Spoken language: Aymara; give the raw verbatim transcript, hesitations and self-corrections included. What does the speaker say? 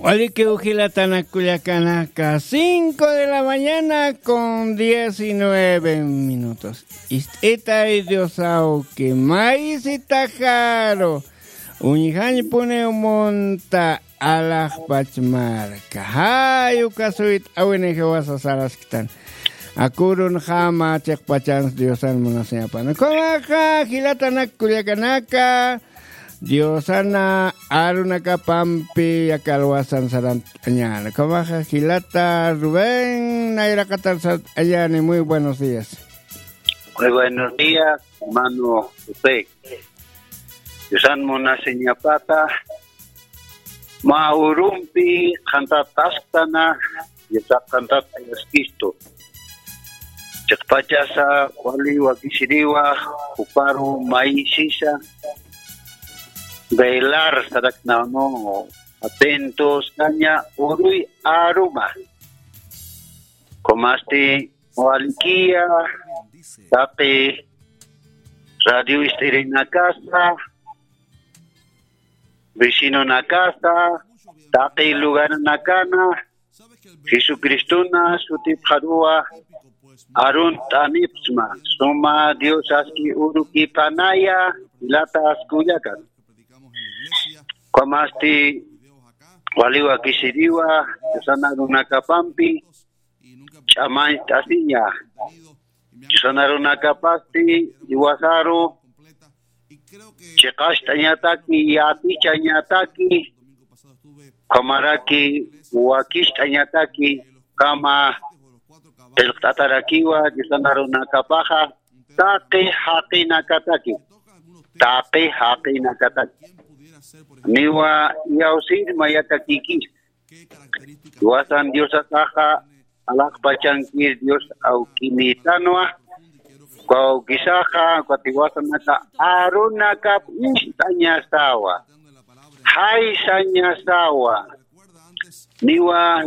Walikiw jilatanak kullakanaka, cinco de la mañana con diecinueve minutos. Ist'itay Dios awki, maysitajaru, uñjañpuniw munta, alaxpach marka. Jay uka suyt'awini jiwasa sarasktan. Akurunxama chiqpachans Diosan munasiñapan. Ukhamaxa jilatanak kullakanaka, Diosana arunakapampi yakalwasan sarant'añäni. Ukhamaxa jilata Rubén nayraqatar sarant'añäni. Muy buenos días. Muy buenos días, hermano José. Diosan munasiñapata, mä urumpi qhantatasktana, Diosax qhantat ayaskistu. Chiqpachasa wali wakisiriwa, juparu maysisa, velar saraknänu, atentos kaña uruy aruma. Ukhamasti walikiya, taqi radio ist'irinakasa, vecinonakasa, taqi lugaranakana, Jesucristona sutipxaruwa arunt'anipxsma, suma Dios aski urukipanaya, jilatas kullakan. Ukhamasti wali wakisiriwa, Diosan arunakapampi ch'amañt'asiña. Diosan arunakapasti jiwasaru chiqacht'añataki, yatichañataki, ukhamaraki wakicht'añataki, ukhama qillqt'atarakiwa Diosan arunakapaxa, taqi jaqinakataki, taqi jaqinakataki. Niwa iyawsir mayatakikis. Jiwasan Diosasaxa alaxpachankir Dios awkinitanwa. Uka awkisaxa, uka jiwasanaka arunakap ist'añasawa, jaysañasawa. Niwa